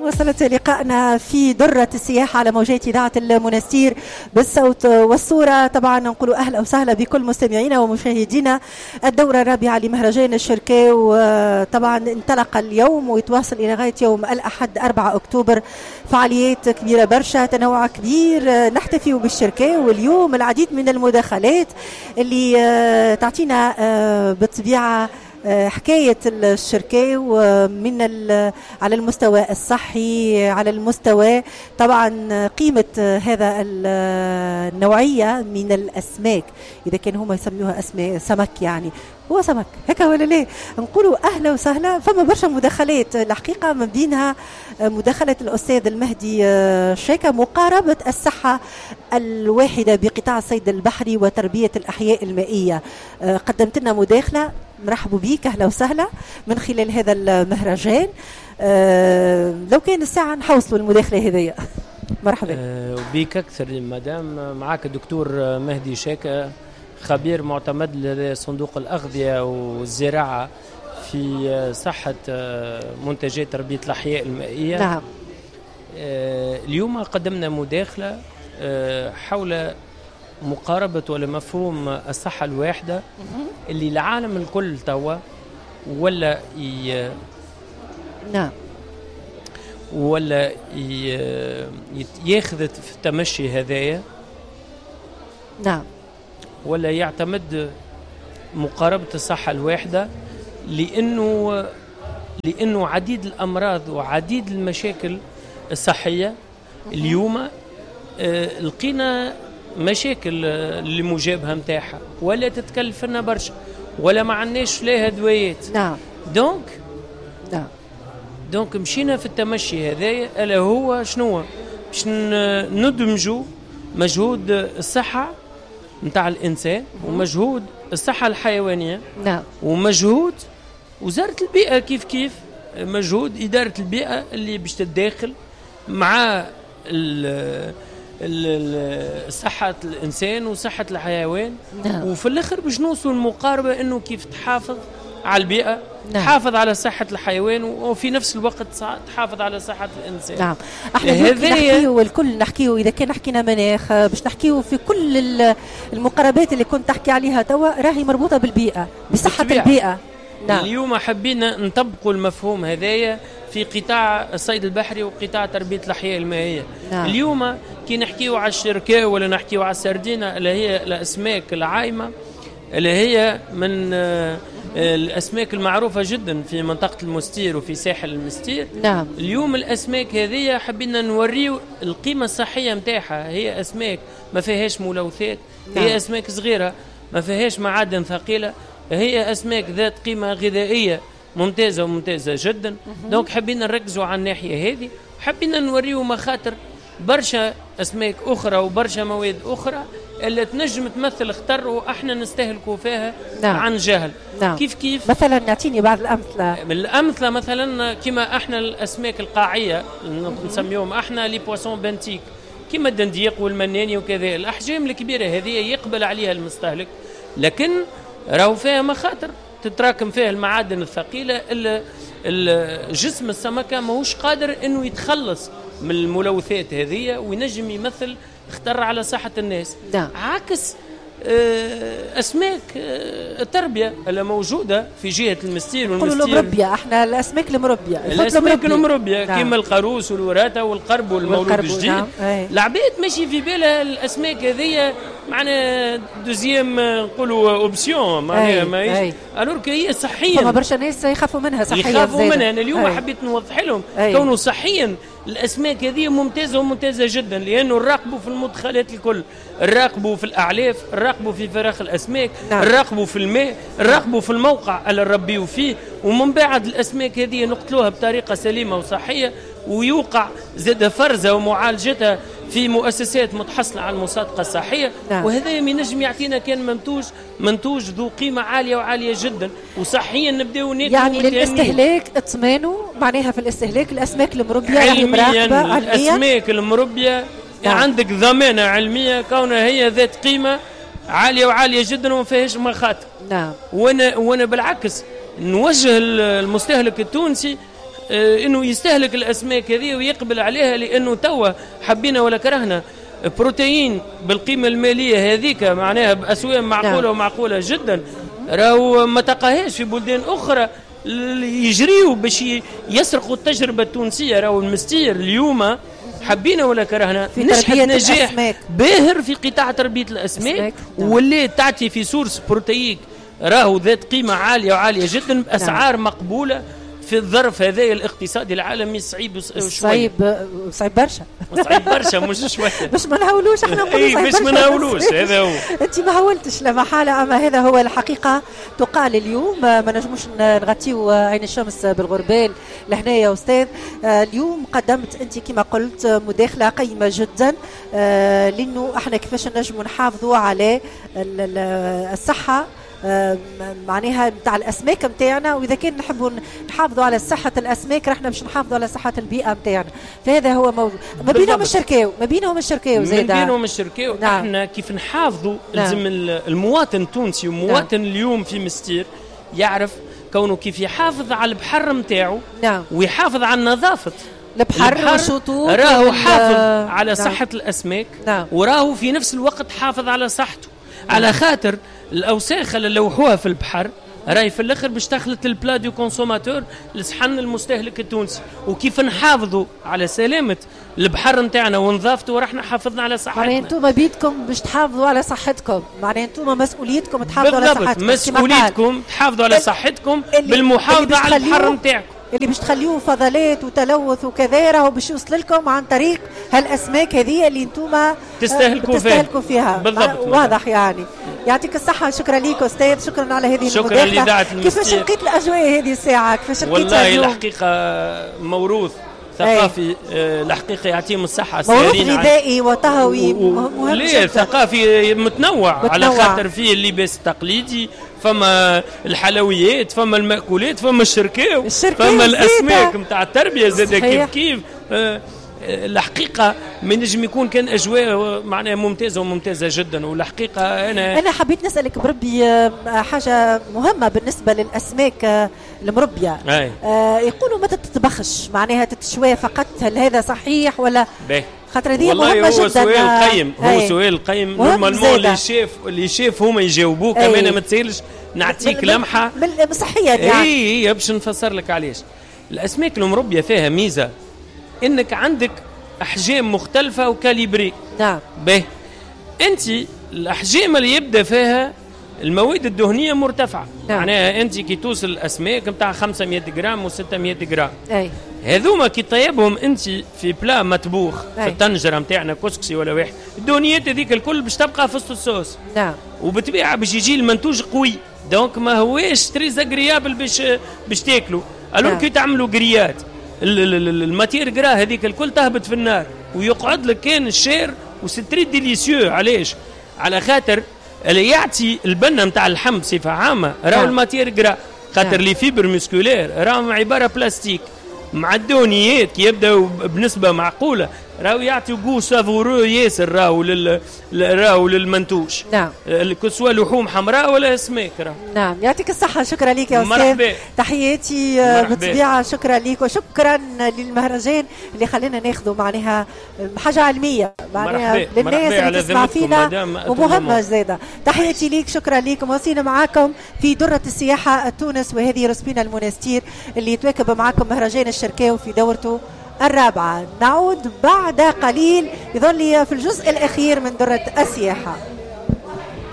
وصلت لقائنا في درة السياحة على موجات إذاعة المنستير بالصوت والصورة. طبعا نقول أهلا وسهلا بكل مستمعينا ومشاهدينا. الدورة الرابعة لمهرجان الشركاو طبعا انطلق اليوم ويتواصل إلى غاية يوم الأحد 4 أكتوبر. فعاليات كبيرة برشا، تنوع كبير، نحتفي بالشركاو. واليوم العديد من المداخلات اللي تعطينا بالطبيعة حكاية الشركاو من على المستوى الصحي، على المستوى طبعا قيمة هذا النوعية من الأسماك، إذا كان هما يسميوها أسماك سمك، يعني هو سمك هكا ولا لا؟ نقولوا أهلا وسهلا. فما برشا مداخلات الحقيقة، من بينها مداخلة الأستاذ المهدي شاكا، مقاربة الصحة الواحدة بقطاع الصيد البحري وتربية الأحياء المائية. قدمت لنا مداخلة، مرحبوا بيك، أهلا وسهلا من خلال هذا المهرجان. لو كان الساعة نحوصلوا المداخلة هذيا. مرحبا. وبيك أكثر مدام. معاك الدكتور مهدي شاكا، خبير معتمد لصندوق الأغذية والزراعة في صحة منتجات تربية الأحياء المائية. نعم. اليوم قدمنا مداخلة حول مقاربة ولا مفهوم الصحة الواحدة اللي العالم الكل توا ولا نعم ولا ياخذ في التمشي هذايا. نعم. ولا يعتمد مقاربة الصحة الواحدة، لأنه عديد الأمراض وعديد المشاكل الصحية اليوم لقينا مشاكل اللي مجابهة متاعها ولا تتكلف لنا برشا ولا ما عندناش لها دوايات. نعم. donc نعم donc مشينا في التمشي هذايا، الا هو شنو باش ندمجوا مجهود الصحة نتاع الإنسان ومجهود الصحة الحيوانية. نعم. ومجهود وزارة البيئة كيف كيف، مجهود إدارة البيئة اللي باش تتداخل مع صحة الإنسان وصحة الحيوان. نعم. وفي الآخر باش نوصل المقاربة إنه كيف تحافظ على البيئة. نعم. تحافظ على صحة الحيوان وفي نفس الوقت تحافظ على صحة الإنسان. نعم. احنا نحكيو والكل نحكيو، إذا كان حكينا مناخ باش نحكيو في كل المقاربات اللي كنت تحكي عليها توا راهي مربوطة بالبيئة، بصحة البيئة. نعم. اليوم حبينا نطبقوا المفهوم هذايا في قطاع الصيد البحري وقطاع تربية الأحياء المائية. نعم. اليوم كي نحكيو على الشركاء ولا نحكيو على السردينة اللي هي الأسماك العايمة اللي هي من الأسماك المعروفة جدا في منطقة المستير وفي ساحل المستير. نعم. اليوم الأسماك هذه حبينا نوريو القيمة الصحية متاعها. هي أسماك ما فيهاش ملوثات. نعم. هي أسماك صغيرة ما فيهاش معادن ثقيلة، هي أسماك ذات قيمة غذائية ممتازة وممتازة جدا. donc حبينا نركزوا على الناحية هذه، حبينا نوريو مخاطر برشا أسماك أخرى وبرشا مواد أخرى اللي تنجم تمثل خطر وإحنا نستهلكوا فيها. نعم. عن جهل. نعم. كيف كيف مثلا نعطيني بعض الأمثلة. من الأمثلة مثلا كما إحنا الأسماك القاعية نسميهم إحنا les poissons benthiques، كما الدنديق والمناني وكذا. الأحجام الكبيرة هذه يقبل عليها المستهلك، لكن راهو فيها مخاطر تتراكم فيها المعادن الثقيلة اللي جسم السمكة ماهوش قادر انه يتخلص من الملوثات هذه وينجم يمثل خطر على صحة الناس. نعم. عكس أسماك التربية اللي موجودة في جهة المستير والمستير. نقولوا المربية، احنا الأسماك المربية، الأسماك المربية. نعم. كما القاروس والوراثة والقرب والمولود الجديد. نعم. العباد ماشي في بالها الأسماك هذه معنا deuxième نقولوا option، معناها ماهيش alors que هي صحيا. فما برشا ناس يخافوا منها صحيا، يخافوا منها. أنا اليوم حبيت نوضح لهم كونه صحيا الأسماك هذه ممتازة وممتازة جدا، لأنه نراقبوا في المدخلات الكل، نراقبوا في الأعلاف، نراقبوا في فراخ الأسماك. نعم. نراقبوا في الماء، نراقبوا في الموقع اللي نربيوا فيه، ومن بعد الأسماك هذه نقتلوها بطريقة سليمة وصحية، ويوقع زاد فرزها ومعالجتها في مؤسسات متحصلة على المصادقة الصحية. نعم. وهذا ينجم يعطينا كان منتوج ذو قيمة عالية وعالية جدا، وصحيا نبداو ناكلوا. يعني للاستهلاك اطمانوا، معناها في الاستهلاك الأسماك المربية راهي مراقبة علميا. الأسماك المربية. نعم. عندك ضمانة علمية كونها هي ذات قيمة عالية وعالية جدا وما فيهاش مخاطر. نعم. وانا بالعكس نوجه المستهلك التونسي انه يستهلك الاسماك هذه ويقبل عليها، لانه توا حبينا ولا كرهنا بروتين بالقيمة المالية هذيك معناها باسواق معقولة. نعم. ومعقوله جدا، راهو ما تلقاهاش في بلدان اخرى، يجريوا باش يسرقوا التجربة التونسيه. راهو المستير اليوم حبينا ولا كرهنا نجحت نجاح باهر في قطاع تربيه الاسماك. نعم. ولات تعطي في source protéique راهو ذات قيمة عالية وعاليه جدا باسعار. نعم. مقبولة في الظرف هذا الاقتصادي العالمي صعيب. صعيب، صعيب برشا. صعيب برشا مش شويه. باش ما نهولوش احنا نقولوا صعيب برشا، باش ما نهولوش، هذا هو. انت ما هولتش لا محاله، اما هذا هو الحقيقة تقال اليوم، ما نجموش نغطيو عين الشمس بالغربال لهنا يا استاذ. اليوم قدمت انت كما قلت مداخله قيمة جدا، لانه احنا كيفاش نجموا نحافظوا على الصحة معناها نتاع الاسماك نتاعنا، واذا كان نحبوا نحافظوا على صحة الاسماك رحنا باش نحافظوا على صحة البيئة نتاعنا، فهذا هو موضوع ما بينهم الشركاو، ما بينهم الشركاو زاده، ما بينهم الشركاو. نعم. احنا كيف نحافظوا. نعم. لازم المواطن التونسي ومواطن. نعم. اليوم في مستير يعرف كونه كيف يحافظ على البحر نتاعو. نعم. ويحافظ على نظافة البحر والشطوط، راهو حافظ على. نعم. صحة الاسماك. نعم. وراهو في نفس الوقت حافظ على صحته. نعم. على خاطر الاوساخ اللي لوحوها في البحر راهي في الاخر باش تخلط ال plat du consommateur، لصحن المستهلك التونسي، وكيف نحافظوا على سلامه البحر نتاعنا ونظافته ورحنا حافظنا على صحتنا. معناها انتم بيدكم باش تحافظوا على صحتكم، معناها انتم مسؤوليتكم تحافظوا على صحتكم. مسؤوليتكم تحافظوا على صحتكم بالمحافظة على البحر نتاعكم. اللي باش تخليوه فضلات وتلوث وكذا راهو باش يوصل لكم عن طريق هالاسماك هذه اللي انتم تستهلكوا فيها. بالضبط، واضح يعني. يعطيك الصحة، شكرا لك أستاذ، شكرا على هذه شكرا المداخلة. كيفاش لقيت الأجواء هذه الساعة؟ كيفاش لقيتها؟ والله الحقيقة موروث ثقافي. الحقيقة يعطيهم الصحة. موروث غذائي وطهوي مهم. ليه ثقافي متنوع. على خاطر فيه اللباس التقليدي، فما الحلويات، فما المأكولات، فما الشركاو، فما الأسماك نتاع التربية زاد كيف كيف. الحقيقة ما نجم يكون كان أجواء معناها ممتازة وممتازة جدا. والحقيقة أنا حبيت نسألك بربي حاجة مهمة بالنسبة للأسماك المربية. يقولوا ما تتطبخش، معناها تتشوى فقط، هل هذا صحيح ولا؟ خاطر هذه مهمة جدا. هو سؤال قيم، هو سؤال قيم. normalement les chefs هما يجاوبوك، اما ما تسالش نعطيك لمحة صحية يعني. اي باش نفسر لك علاش. الأسماك المربية فيها ميزة انك عندك احجام مختلفة و calibrées. نعم. به انت الاحجام اللي يبدا فيها المواد الدهنية مرتفعة. نعم. معناها انت كي توصل الاسماك نتاع 500 غرام و600 غرام. اي هذوما كي طيبهم انت في plat مطبوخ. أي. في الطنجره نتاعنا كسكسي ولا واحد، الدهنيات هذيك الكل باش تبقى في وسط الصوص. نعم. وبالطبيعه باش يجي المنتوج قوي، donc ما هواش très agréable باش تاكلوا. alors. نعم. كي تعملوا grillade، ال matière grasse هذيك الكل تهبط في النار ويقعد لك كان ال chair و c'est très délicieux. علاش؟ على خاطر اللي يعطي البنه نتاع اللحم بصفة عامة راهو. نعم. ال matière grasse، خاطر. نعم. les fibres musculaires راهم عبارة بلاستيك مع الدهنيات كي يبداو بنسبة معقولة راهو يعطي goût savoureux ياسر راهو للمنتوج. نعم. que ce soit لحوم حمراء ولا اسماك راهو. نعم، يعطيك الصحة، شكرا لك يا أستاذ. مرحبا. تحياتي بالطبيعة، شكرا لك وشكرا للمهرجان اللي خلينا ناخذوا معناها حاجة علمية معناها للناس اللي تسمع فينا ومهمة زادة. تحياتي لك، شكرا لك. مواصلين معاكم في درة السياحة تونس، وهذه رسبينا المنستير اللي يتواكب معاكم مهرجان الشركاو في دورته الرابعة. نعود بعد قليل يظل في الجزء الأخير من درة السياحة.